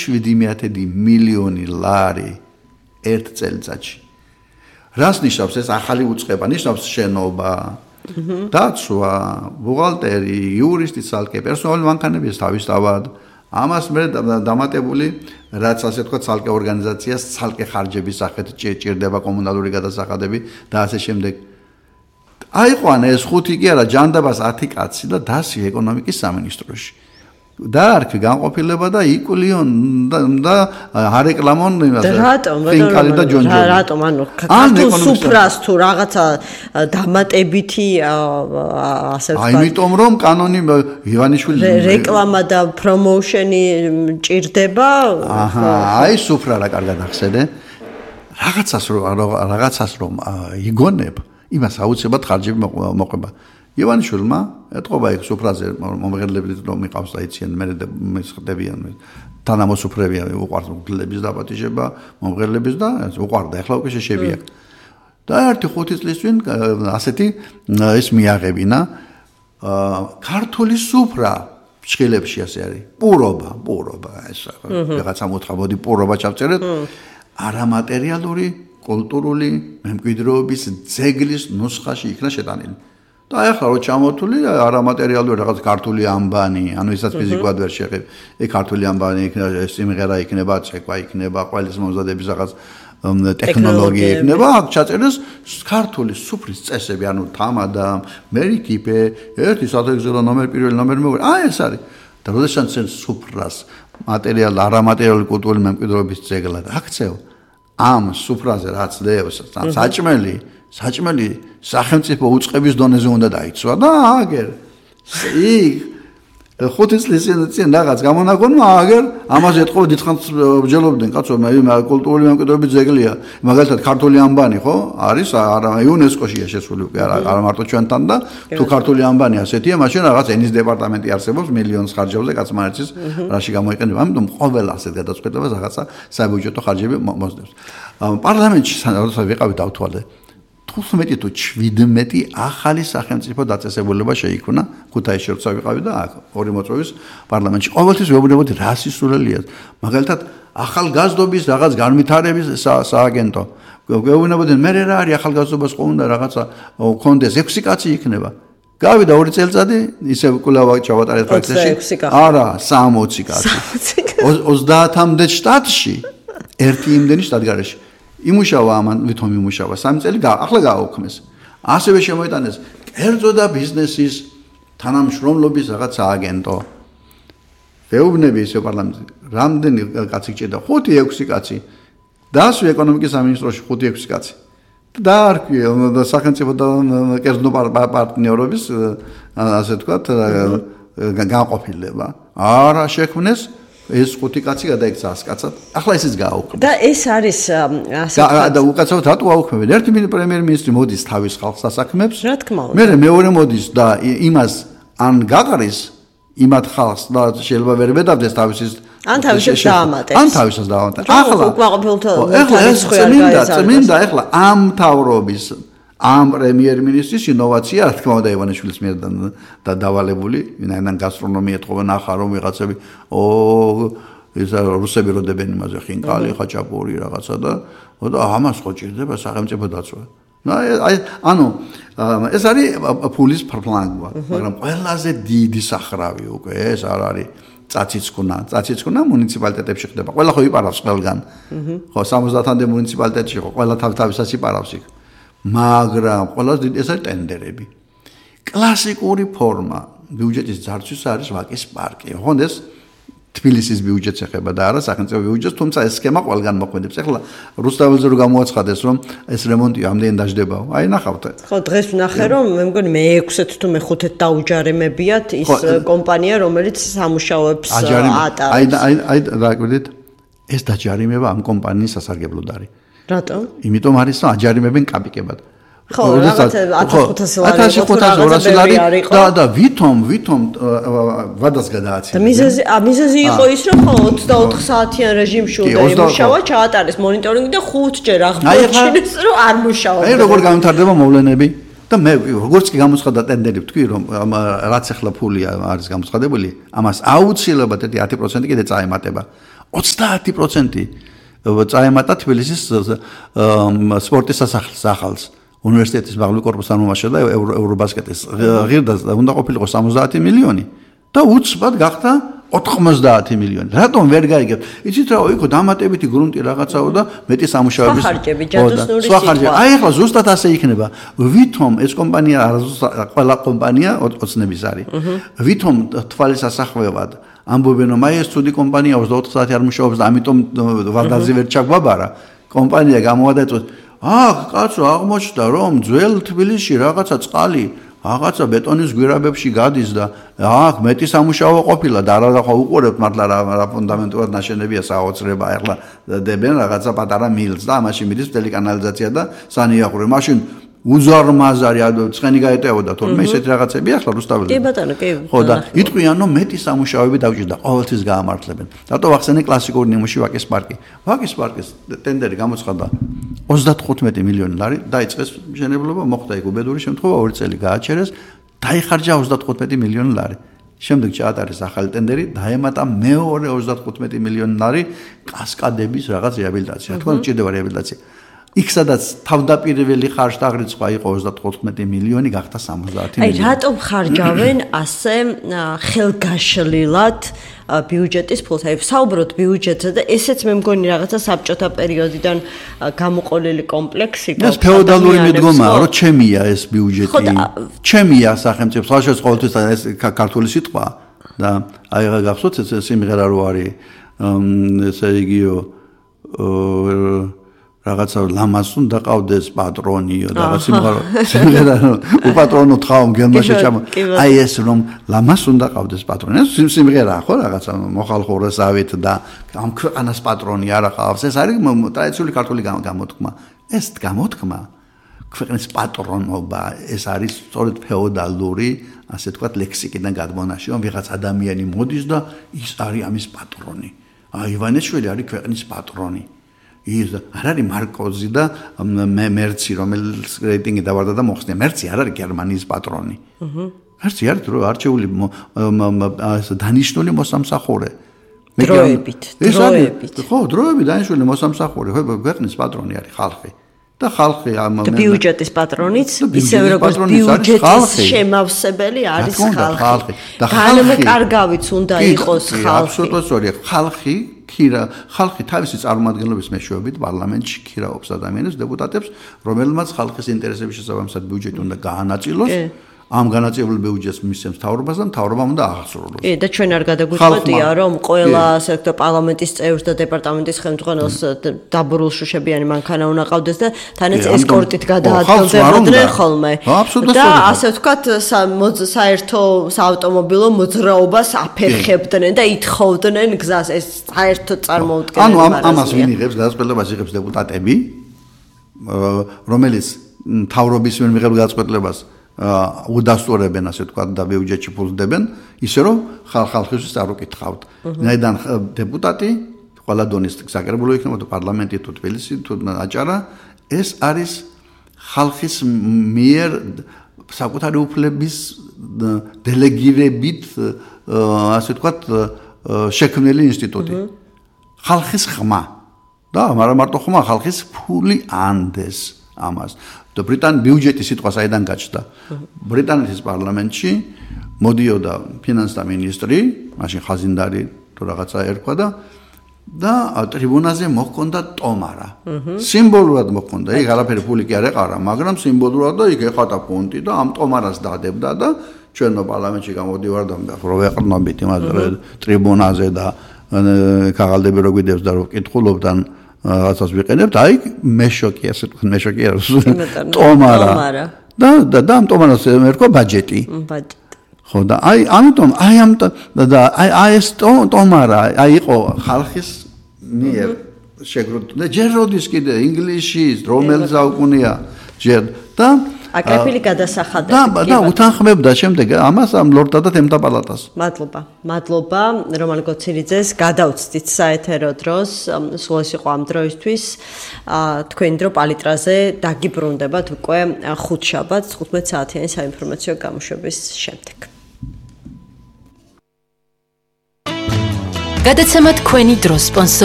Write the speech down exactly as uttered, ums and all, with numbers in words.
შვიდი მილიონი ლარი ერთ წელიწადში. რას ნიშნავს ეს ახალი უწყება? ნიშნავს შენობა, დაცვა, ბუღალტერი, იურისტი ცალკე, პერსონალური მანქანების თავისთავად. ამას მე დამატებული რაც ასე თქვა ცალკე ორგანიზაციას ცალკე ხარჯების სახით ჭირდება კომუნალური გადასახადები და ასე შემდეგ. აიყვანა ეს ხუთი კი არა ჯანდაბას ათი კაცი და დასი ეკონომიკის სამინისტროში. დაარქი განყოფილება და იკულიონ და არეკლამონ იმას ფინკალი და ჯონჯონი. რატომ ანუ ქართულ სუფრას თუ რაღაცა დამატებითი ასე ვთქვათ. აიმიტომ რომ კანონი ივანიშვილი რეკლამა და პრომოუშენი ჭირდება. აჰა, აი სუფრა რა კარგად ახსენე. რაღაცას რომ რაღაცას რომ იგონებ, იმას აუცილებლად ხარჯები მოყვება. ივანიშვილმა ეთყობა იქ სუფრაზე მომღერლებით რომ მიყავს და იციან მე ხდებიან თანამოსუფრებია უყვართ მგლების დაპატიჟება მომღერლების და უყვარდა ახლა უკვე შეშებია და ერთი ხუთი წლის წინ ასეთი ეს მიაღებინა ქართული სუფრა ფშხილებში ასე არის პურობა პურობა ეს რაღაცა მოთხა მოდი პურობა ჩავწერეთ არამატერიალური კულტურული მემკვიდრეობის ძეგლის ნუსხაში იქნა შეტანილი და ახლა რო ჩამოთვლი არამატერიალური რაღაც ქართული ამბანი, ანუ ისაც ფიზიკურად ვერ შეღებ. ეგ ქართული ამბანი იქნება, სიმღერა იქნება, ცეკვა იქნება, ყველის მომზადების რაღაც ტექნოლოგია იქნება, აქ ჩაწერეს ქართული სუფრის წესები, ანუ თამადა, მერიკიპე, ერთი საათგზელო ნომერი, პირველი ნომერი მოვიდა. აი ეს არის. და როდესაც შენ სუფრას მატერიალ არამატერიალური კულტურული მემკვიდრეობის ძეგლად აქცევ, ამ სუფრაზე რაც დევს, საჭმელი საჭმელი სახელმწიფო უწყების დონეზე უნდა დაიცვა და აგერ იქ ხუთი წლის წინ რაღაც გამონაგონმა აგერ ამაზე ეთყობა დიდხანს ბჯელობდნენ კაცო მე კულტურული მემკვიდრეობის ძეგლია მაგალითად ქართული ამბანი ხო არის არა იუნესკოშია შესული უკვე არა მარტო ჩვენთან და თუ ქართული ამბანი ასეთია მაშინ რაღაც ენის დეპარტამენტი არსებობს მილიონს ხარჯებზე კაცმანეთის რაში გამოიყენება ამიტომ ყოველ ასეთ გადაწყვეტილებას რაღაცა საბიუჯეტო ხარჯები მოსდევს პარლამენტში როდესაც ვიყავით დავთვალე თხუთმეტი თუ შვიდმეტი ახალი სახელმწიფო დაწესებულება შეიქმნა ქუთაისში როცა ვიყავი და აქ ორი მოწვევის პარლამენტში ყოველთვის ვეუბნებოდი რა სისულელია მაგალითად ახალგაზრდობის რაღაც განვითარების სააგენტო ვეუბნებოდი მე რა არის ახალგაზრდობას ყო უნდა რაღაცა კონდეს ექვსი კაცი იქნება გავიდა ორი წელიწადი ისე კვლავ ჩავატარეთ პროცესში არა სამოცი კაცი ოცდაათამდე შტატში ერთი იმდენი შტატგარეში იმუშავა ამან ვითომ იმუშავა სამი წელი ახლა გააუქმეს ასევე შემოიტანეს კერძო და ბიზნესის თანამშრომლობის რაღაც სააგენტო ვეუბნები ისე პარლამენტში რამდენი კაცი გჭირდა ხუთი ექვსი კაცი დასვი ეკონომიკის სამინისტროში ხუთი ექვსი კაცი დაარქვი და სახელმწიფო და კერძო პარტნიორობის ასე ვთქვათ განყოფილება არა შექმნეს ეს ხუთი კაცი გადაიქცა ას კაცად. ახლა ესეც გააუქმეს. და ეს არის ასე და უკაცრავად რატო აუქმებენ? ერთი პრემიერ-მინისტრი მოდის თავის ხალხს ასაქმებს. რა თქმა უნდა. მე მეორე მოდის და იმას ან გაღრის იმათ ხალხს და შეიძლება ვერ მედავდეს თავისის ან თავისას დაამატებს. ან თავისას დაამატებს. ახლა უკმაყოფილთა ახლა ეს წმინდა წმინდა ახლა ამ თავრობის ამ პრემიერ-მინისტრის ინოვაცია რა თქმა უნდა ივანიშვილის მიერ და დავალებული ვინაიდან გასტრონომია ეთყობა ნახა რომ ვიღაცები ო ეს რუსები როდებენ იმაზე ხინკალი ხაჭაპური რაღაცა და და ამას ხო ჭირდება სახელმწიფო დაცვა აი ანუ ეს არის ფულის ფლანგვა მაგრამ ყველაზე დიდი სახრავი უკვე ეს არ არის წაციცკუნა წაციცკუნა მუნიციპალიტეტებში ხდება ყველა ხო იპარავს ყველგან ხო სამოცდაათამდე მუნიციპალიტეტში ხო ყველა თავისას იპარავს იქ მაგრამ ყველაზე დიდი ეს არის ტენდერები. კლასიკური ფორმა ბიუჯეტის ძარცვის არის ვაკის პარკი. ოღონდ ეს თბილისის ბიუჯეტს ეხება და არა სახელმწიფო ბიუჯეტს, თუმცა ეს სქემა ყველგან მოქმედებს. ახლა რუსთაველზე რო გამოაცხადეს, რომ ეს რემონტი ამდენი დაждდებაო. აი ნახავთ. ხო, დღეს ვნახე, რომ მე მგონი მე ექვსით თუ მე ხუთით დაუჯარემებიათ ის კომპანია, რომელიც სამუშაოებს ატარებს. აი აი აი რა გქონდით? ეს დაჯარიმება ამ კომპანიის სასარგებლოდ არის. რატომ? იმიტომ არის რომ აჯარიმებენ კაპიკებად. ხო, რაღაც ათას ხუთასი ლარი და და ვითომ ვითომ ვადას გადააცემა. და მიზეზი მიზეზი იყო ის რომ ხო ოცდაოთხ საათიან რეჟიმში უნდა იმუშავა, ჩაატარეს მონიტორინგი და ხუთჯერ აღნიშნეს რომ არ მუშაობს. აი როგორ გამთარდება მოვლენები და მე როგორც კი გამოცხადა ტენდერი ვთქვი რომ რაც ახლა ფული არის გამოცხადებული, ამას აუცილებლად ერთი ათი პროცენტი კიდე წაემატება. ოცდაათი პროცენტი წაემატა თბილისის სპორტის სასახლეს ახალს. უნივერსიტეტის მაღლობი კორპუსის წარმომადგენელს და ევრობასკეტის ღირდა უნდა ყოფილიყო სამოცდაათი მილიონი და უცბად გახდა ოთხმოცდაათი მილიონი. რატომ ვერ გაიგებთ? იცით რა, იქო დამატებითი გრუნტი რაღაცაო და მეტი სამუშაოების ხარჯები, ჯადოსნური სიტყვა. აი ახლა ზუსტად ასე იქნება. ვითომ ეს კომპანია ყველა კომპანია ოცნების არის. ვითომ თვალის ასახვევად ამბობენ რომ აი ეს ცუდი კომპანია ოცდაოთხ საათი არ მუშაობს და ამიტომ ვარდაძე ვერ ჩაგვაბარა. კომპანია გამოვადაწყვეტ აх, კაცო, აღმოჩნდა რომ ძველ თბილისში რაღაცა წყალი, რაღაცა ბეტონის გვირაბებში გადის და აх, მეტი სამუშაო ყოფილა და არა რა უყურებთ მართლა რა ფუნდამენტურად ნაშენებია საოცრება, ახლა დებენ რაღაცა პატარა მილს და ამაში მიდის მთელი კანალიზაცია და სანიაღური. მაშინ უზარმაზარი ცხენი გაეტევოდა თორემე ისეთი რაღაცები ახლა რუსთაველი. კი ბატონო, კი. ხო და იტყვიან რომ მეტი სამუშაოები დავჭირდა, ყოველთვის გაამართლებენ. რატო ვახსენე კლასიკური ნიმუში ვაკის პარკი. ვაკის პარკის ტენდერი გამოცხადდა ოცდათხუთმეტი მილიონი ლარი, დაიწყეს მშენებლობა, მოხდა იქ უბედური შემთხვევა, ორი წელი გააჩერეს, დაიხარჯა ოცდათხუთმეტი მილიონი ლარი. შემდეგ ჩაატარეს ახალი ტენდერი, დაემატა მეორე ოცდათხუთმეტი მილიონი ლარი კასკადების რაღაც რეაბილიტაცია. თქო, ჭირდება რეაბილიტაცია. იქ სადაც თავდაპირველი ხარჯ-დაღრიცხვა იყო ოცდათხუთმეტი მილიონი, გახდა სამოცდაათი მილიონი. აი, რატომ ხარჯავენ ასე ხელგაშლილად ბიუჯეტის ფულს? აი, საუბრობთ ბიუჯეტზე და ესეც მე მგონი რაღაცა საბჭოთა პერიოდიდან გამოყოლილი კომპლექსი გქონდა. ეს ფეოდალური მიდგომაა, რომ ჩემია ეს ბიუჯეტი. ჩემია სახელმწიფო, ხალხის ყოველთვის ეს ქართული სიტყვა და აი რა გახსოვთ ეს სიმღერა რო არის ესე იგიო რაღაცა ლამას უნდა ყავდეს პატრონიო და რაღაც სიმღერა უპატრონო თხავ მგელმაში ჩამ აი ეს რომ ლამას უნდა ყავდეს პატრონი ეს სიმღერაა ხო რაღაცა მოხალხურესავით და ამ ქვეყანას პატრონი არა ყავს ეს არის ტრადიციული ქართული გამოთქმა ეს გამოთქმა ქვეყნის პატრონობა ეს არის სწორედ ფეოდალური ასე თქვა ლექსიკიდან გადმონაში რომ ვიღაც ადამიანი მოდის და ის არის ამის პატრონი აი ივანიშვილი არის ქვეყნის პატრონი ის არ არის მარკოზი და მერცი რომელიც რეიტინგი დავარდა და მოხსნია მერცი არ არის გერმანიის პატრონი აჰა მერცი არის რო არჩეული დანიშნული მოსამსახურე დროებით დროებით ხო დროებით დანიშნული მოსამსახურე ხო ქვეყნის პატრონი არის ხალხი და ხალხი ამ ბიუჯეტის პატრონიც ისევე როგორც ბიუჯეტის შემავსებელი არის ხალხი და განმკარგავიც უნდა იყოს ხალხი აბსოლუტურად სწორია ხალხი ქირა ხალხი თავისი წარმომადგენლობის მეშვეობით პარლამენტში ქირაობს ადამიანებს დეპუტატებს რომელმაც ხალხის ინტერესების შესაბამისად ბიუჯეტი უნდა გაანაწილოს ამ განაწილებულ ბიუჯეტს მისცემს მთავრობას და მთავრობამ უნდა აღასრულოს. კი და ჩვენ არ გადაგვიწყვეტია რომ ყველა ასე ვთქვათ პარლამენტის წევრს და დეპარტამენტის ხელმძღვანელს დაბურულ შუშებიანი მანქანა უნდა ყავდეს და თანაც ესკორტით გადაადგილდებოდნენ ხოლმე. და ასე ვთქვათ საერთო საავტომობილო მოძრაობას აფერხებდნენ და ითხოვდნენ გზას ეს საერთო წარმოუდგენელი ანუ ამას ვინ იღებს გადაწყვეტილებას იღებს დეპუტატები რომელიც მთავრობის მიერ მიღებულ გადაწყვეტილებას უდასტურებენ ასე თქვა და ბიუჯეტში ფულს დებენ ისე რომ ხალხისთვის არ უკითხავთ. ნაიდან დეპუტატი ყველა დონის საკრებულო იქნება თუ პარლამენტი თუ თბილისი თუ აჭარა ეს არის ხალხის მიერ საკუთარი უფლების დელეგირებით ასე თქვა შექმნილი ინსტიტუტი. ხალხის ხმა და არა მარტო ხმა ხალხის ფული ანდეს ამას და ბრიტან ბიუჯეტის სიტყვა საიდან გაჩნდა ბრიტანეთის პარლამენტში მოდიოდა ფინანსთა მინისტრი მაშინ ხაზინდარი თუ რაღაცა ერქვა და და ტრიბუნაზე მოჰქონდა ტომარა სიმბოლურად მოჰქონდა იქ არაფერი ფული კი არ ეყარა მაგრამ სიმბოლურად და იქ ეხადა ფონტი და ამ ტომარას დადებდა და ჩვენო პარლამენტში გამოდივარ და რო ვეყრნობით იმას ტრიბუნაზე და ქაღალდები რო გვიდევს და რო ვკითხულობდან რაღაცას ვიყენებთ, აი მე შოკი, ასე თქვა, მე შოკი არის. ტომარა. და და და ამ ტომარას ერქვა ბაჯეტი. ბაჯეტი. ხო და აი ამიტომ აი ამ და აი აი ეს ტომარა, აი იყო ხალხის მიერ შეგროვებული. ჯერ როდის კიდე ინგლისში რომელ საუკუნეა ჯერ და აკრეფილი გადასახადები. და და უთანხმებდა შემდეგ ამას ამ ლორდთა და თემთა პალატას. მადლობა. მადლობა რომან გოცირიძეს. გადავწდით საეთერო დროს. სულ ეს იყო ამ დროისთვის. თქვენი დრო პალიტრაზე დაგიბრუნდებათ უკვე ხუთშაბათს თხუთმეტ საათიანი საინფორმაციო გამოშვების შემდეგ. გადაცემა თქვენი დრო სპონსორი